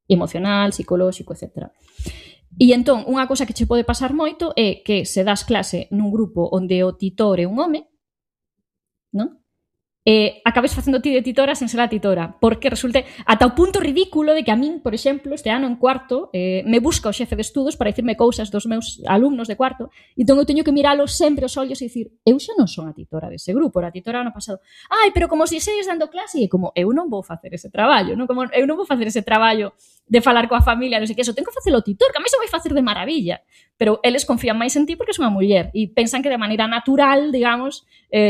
emocional, psicolóxico, etc. E entón, unha cosa que che pode pasar moito é que se das clase nun grupo onde o titor é un home, non? Acabes facendo ti de titora sen ser a titora, porque resulte ata o punto ridículo de que a min, por exemplo, este ano en cuarto, me busca o xefe de estudos para dicirme cousas dos meus alumnos de cuarto, e entón eu teño que miralos sempre aos ollos e dicir, eu xa non son a titora dese grupo, era a titora ano pasado. Ai, pero como se segues dando clase, e como eu non vou facer ese traballo, non? Como eu non vou facer ese traballo de falar coa familia, non sei que, eso, tengo que facelo o titor, que a mí se vai facer de maravilla, pero eles confían máis en ti porque és unha muller e pensan que de maneira natural, digamos,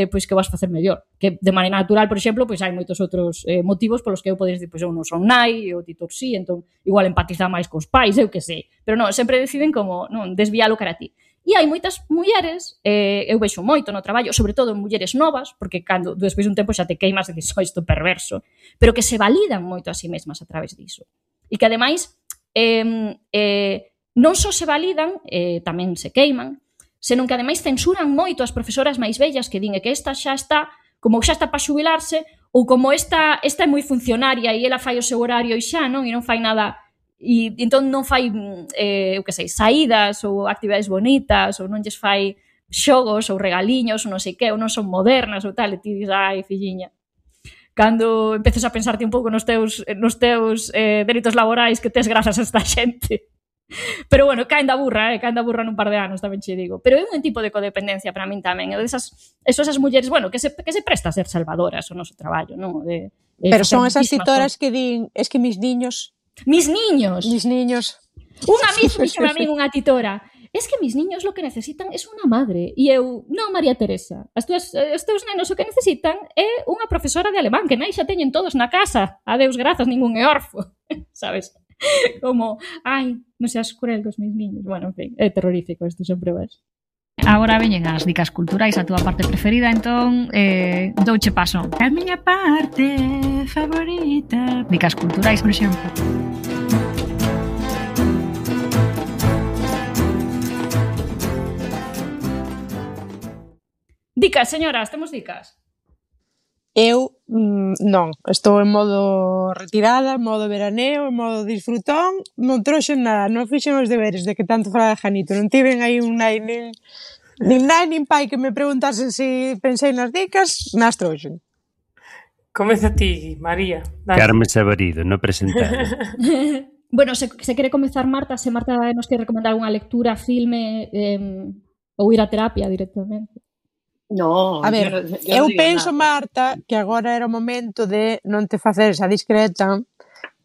pois que vas facer mellor, que de maneira natural, por exemplo, pois hai moitos outros motivos polos que eu podes dicir, pois eu non son nai, e o titor sí, entón igual empatiza máis cos pais, eu que sei, pero non, sempre deciden como non desvialo cara a ti. E hai moitas mulleres, eu vexo moito no traballo, sobre todo en mulleres novas, porque cando despois dun tempo xa te queimas e dices, isto perverso, pero que se validan moito a si mesmas a través diso. E que ademais non só se validan, tamén se queiman, senón que ademais censuran moito as profesoras máis vellas que din que esta xa está, como xa está para xubilarse, ou como esta é moi funcionaria e ela fai o seu horario e xa, non? E non fai nada, e entón non fai, eu que sei, saídas ou actividades bonitas, ou non lles fai xogos ou regaliños, ou non sei que, ou non son modernas ou tal, e ti dis, ai, filliña, cando empeces a pensarte un pouco nos teus delitos laborais que tes grazas a esta xente. Pero bueno, caen da burra nun par de anos, tamén che digo. Pero é un tipo de codependencia para min tamén. Esas mulleres, bueno, que se presta a ser salvadoras o noso traballo, non? Pero son esas titoras que din, es que mis niños... Mis niños! Unha vez dixome a min unha titora, es que mis niños lo que necesitan es unha madre. E eu, non, María Teresa, os teus nenos o que necesitan é unha profesora de alemán, que nai xa teñen todos na casa. Adeus, grazas, ningún é orfo. Sabes? Como, ai, non seas cruel cos meus niños. Bueno, en fin, é terrorífico isto, sempre ves. Agora veñen as dicas culturais, a túa parte preferida, entón douche paso. A miña parte favorita. Dicas culturais, por exemplo. Dicas, señoras, temos dicas? Eu non, estou en modo retirada, en modo veraneo, en modo disfrutón, non trouxen nada, non fixen os deberes de que tanto falaba Janito, non tiven aí un nai nin nai nin pai que me preguntasen se pensei nas dicas, nas trouxen. Comeza ti, María. Carmen Sabarido, no presentado. Bueno, se quere comezar Marta, se Marta nos quere recomendar unha lectura, filme ou ir a terapia directamente. No, a ver, eu penso, Marta, que agora era o momento de non te facer esa discreta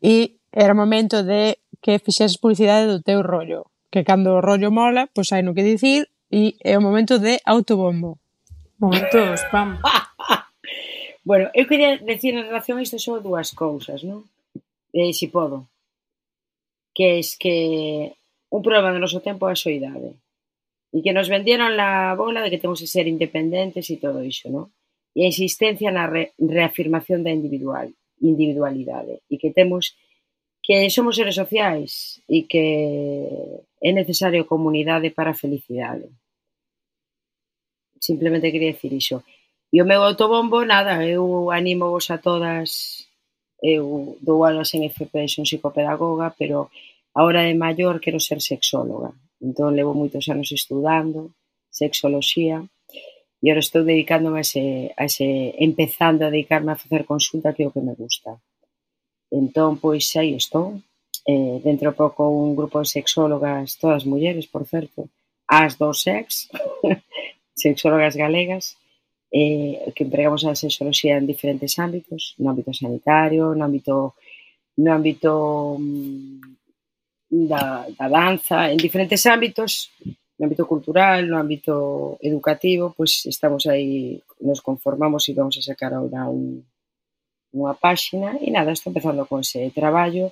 e era o momento de que fixeses publicidade do teu rollo, que cando o rollo mola, pois hai no que dicir e é o momento de autobombo. Momento spam. Bueno, eu quería decir en relación a isto só dúas cousas, non? Se podo. Que é que un problema do noso tempo é a soidade. E que nos vendieron la bola de que temos que ser independentes e todo iso, non? E a insistencia na reafirmación da individualidade. E que temos que somos seres sociais e que é necesario comunidade para a felicidade. Simplemente quería decir iso. E o meu autobombo, nada, eu animo vos a todas, eu dou aulas en FP, son psicopedagoga, pero a hora de maior quero ser sexóloga. Entón, levo moitos anos estudando sexoloxía e agora estou dedicándome empezando a dedicarme a facer consulta, que é o que me gusta. Entón, pois, aí estou. Dentro de pouco un grupo de sexólogas, todas mulleres, por certo, as do sex, sexólogas galegas, que empregamos a sexoloxía en diferentes ámbitos, no ámbito sanitario, no ámbito da danza, en diferentes ámbitos, no ámbito cultural, no ámbito educativo, pois estamos aí, nos conformamos e vamos a sacar ahora unha páxina e nada, estou empezando con ese traballo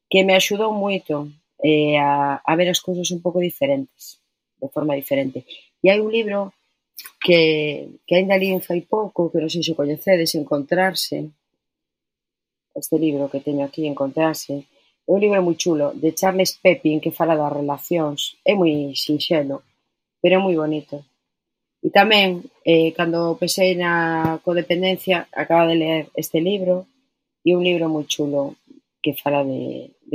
que me axudou moito a ver as cousas un pouco diferentes, de forma diferente. E hai un libro que ainda li fai pouco, que non sei se coñecedes, Encontrarse, este libro que teño aquí, Encontrarse. É un libro moi chulo, de Charles Pepin, que fala das relacións. É moi sinxelo, pero é moi bonito. E tamén, cando pensei na codependencia, acabo de ler este libro, e un libro moi chulo que fala de